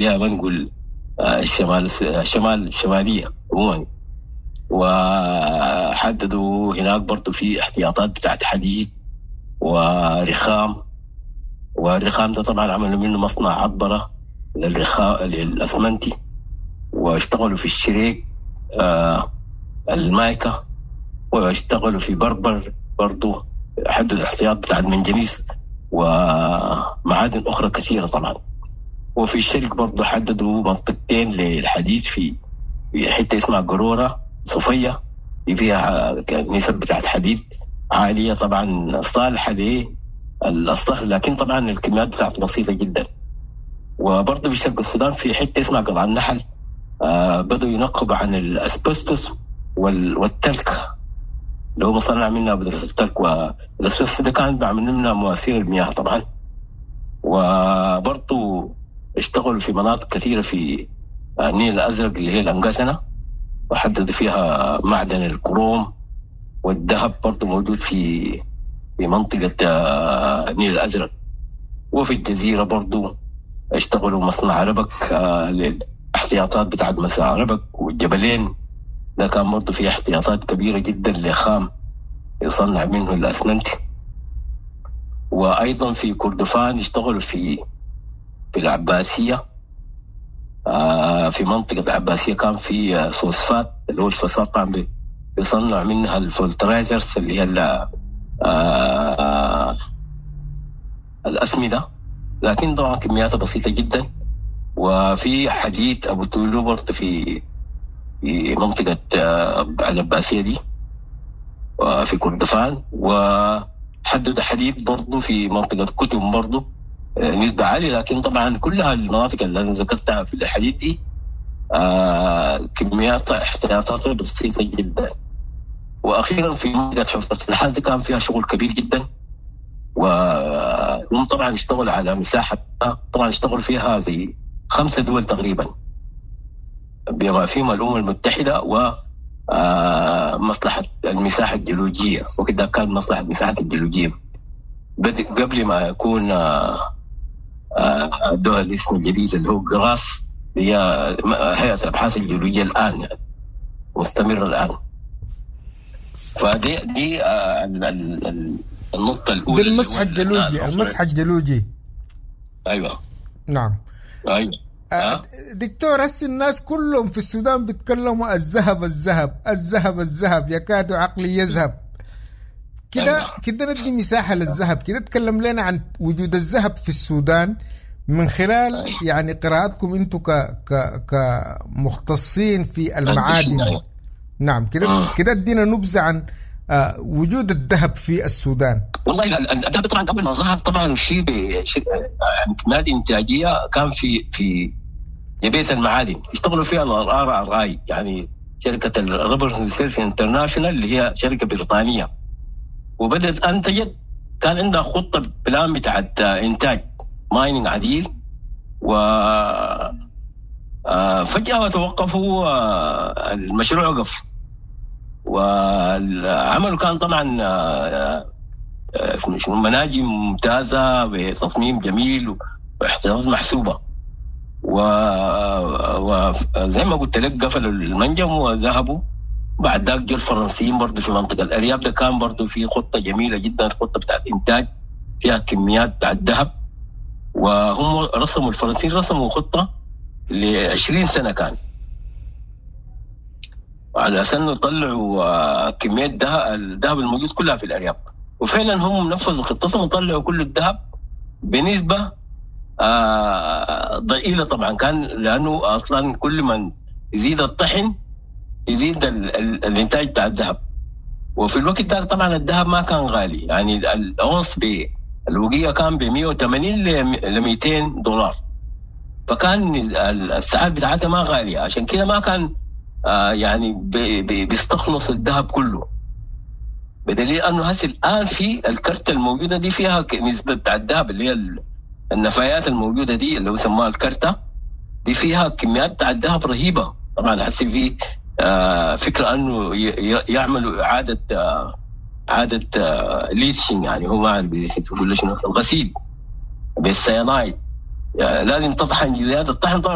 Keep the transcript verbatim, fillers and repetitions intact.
ما نقول الشمال الشمال الشمالية عموما. وحددوا هناك برضو في احتياطات بتاعت حديد ورخام، والرخام ده طبعا عملوا منه مصنع عطبرة للرخام للأسمنتي، واشتغلوا في الشريك آه المايكا، واشتغلوا في بربر برضو، حددوا الاحتياط بتاع المنجنيز ومعادن أخرى كثيرة طبعا. وفي الشرق برضو حددوا منطقتين للحديد في في حتة اسمها قرورة صوفية، فيها نسب بتاعت حديد عالية طبعا صالحة للصهر، لكن طبعا الكميات بتاعته بسيطة جدا. وبرضه في شرق السودان في حتة اسمها قلعة النحل آه بدوا ينقبوا عن الاسبستوس والتلك اللي هو مصنع منها بودرة التلك، والاسبستوس ده كان بعمل منها مواسير المياه طبعا. وبرضه اشتغلوا في مناطق كثيرة في النيل الأزرق اللي هي الأنقسنة، وحددوا فيها معدن الكروم والذهب برضه موجود في في منطقة النيل الأزرق. وفي الجزيرة برضه اشتغلوا مصنع ربك للاحتياطات بتاعت مصنع ربك، والجبلين ده كان برضه فيه احتياطات كبيرة جدا لخام يصنع منه الأسمنت. وأيضا في كردفان اشتغلوا في في العباسية، آه في منطقة العباسية كان في فوسفات اللي هو الفوسفات طبعا بيصنع منها ال fertilizers اللي هي آه الأسمدة، لكن طبعا كمياتها بسيطة جدا. وفي حديد أبو تولو برضه في في منطقة آه العباسية دي وفي كردفان. وحدد حديد برضه في منطقة كتم برضه نسبة عالية، لكن طبعا كلها المناطق اللي أنا ذكرتها في الحديد دي آه كميات احتياطات بسيطة جدا. وأخيرا في منطقة حفرة النحاس كان فيها شغل كبير جدا، وهم طبعا اشتغلوا على مساحة، طبعا اشتغلوا فيها زي خمسة دول تقريبا بما فيهم الأمم المتحدة ومصلحة المساحة الجيولوجية، وكده كان مصلحة المساحة الجيولوجية قبل ما يكون الدول الاسم الجديد اللي هو جراس، هي هيئة الأبحاث الجيولوجية الآن يعني مستمرة الآن. فدي دي النقطة الأولى، دي المسح الجيولوجي، المسح الجيولوجي. أيوة نعم أيوة. أه؟ دكتور، هسه الناس كلهم في السودان بيتكلموا الذهب الذهب الذهب الذهب، يكاد عقلي يذهب كده. أيوة. كده ندي مساحة للذهب كده، تكلم لنا عن وجود الذهب في السودان من خلال أيوة. يعني قراءتكم انتم ك ك كمختصين في المعادن. أيوة. نعم كده كده ادينا نبذة عن وجود الذهب في السودان. والله الذهب طبعا قبل ما ظهر طبعا شيء كميات انتاجية كان في في جبهة المعادن اشتغلوا فيها ال RRI، يعني شركة ال Rubber Research International اللي هي شركة بريطانية، وبدات انتجت، كان عندها خطه plan بتاعت انتاج mining عديل، و فجاة توقفوا المشروع وقف. والعمل كان طبعا مناجم ممتازة بتصميم جميل واحتياطات محسوبة، وزي ما قلت لك قفلوا المنجم وذهبوا. بعد ذاك جو الفرنسيين برضو في منطقة الأرياب، ده كان برضو في خطة جميلة جدا، خطة بتاعت إنتاج فيها كميات بتاعت ذهب، وهم رسموا الفرنسيين رسموا خطة لعشرين سنة كان على أساس إنه يطلعوا كمية الذهب الموجود كلها في الأرياب، وفعلا هم نفذوا خطتهم وطلعوا كل الذهب بنسبة آه ضئيلة طبعا، كان لأنه أصلا كل من يزيد الطحن يزيد ال ال الإنتاج بتاع الذهب. وفي الوقت ده طبعا الذهب ما كان غالي، يعني الأونص بالوقية كان ب مئة وثمانين ل مئتين دولار، فكان السعر بتاعتها ما غالية، عشان كده ما كان آه يعني بي بي بيستخلص الذهب كله، بدليل انه هسه الان في الكرتة الموجودة دي فيها نسبه بتاع الذهب اللي هي النفايات الموجودة دي اللي هو سموها الكرتة دي فيها كميات بتاع الذهب رهيبة. طبعا هسه في آه فكرة انه يعملوا اعاده آه اعاده آه leaching، يعني هو ما اعرف يقول شنو، الغسيل بالسيانايد، يعني لازم تطحن زيادة الطحن طبعا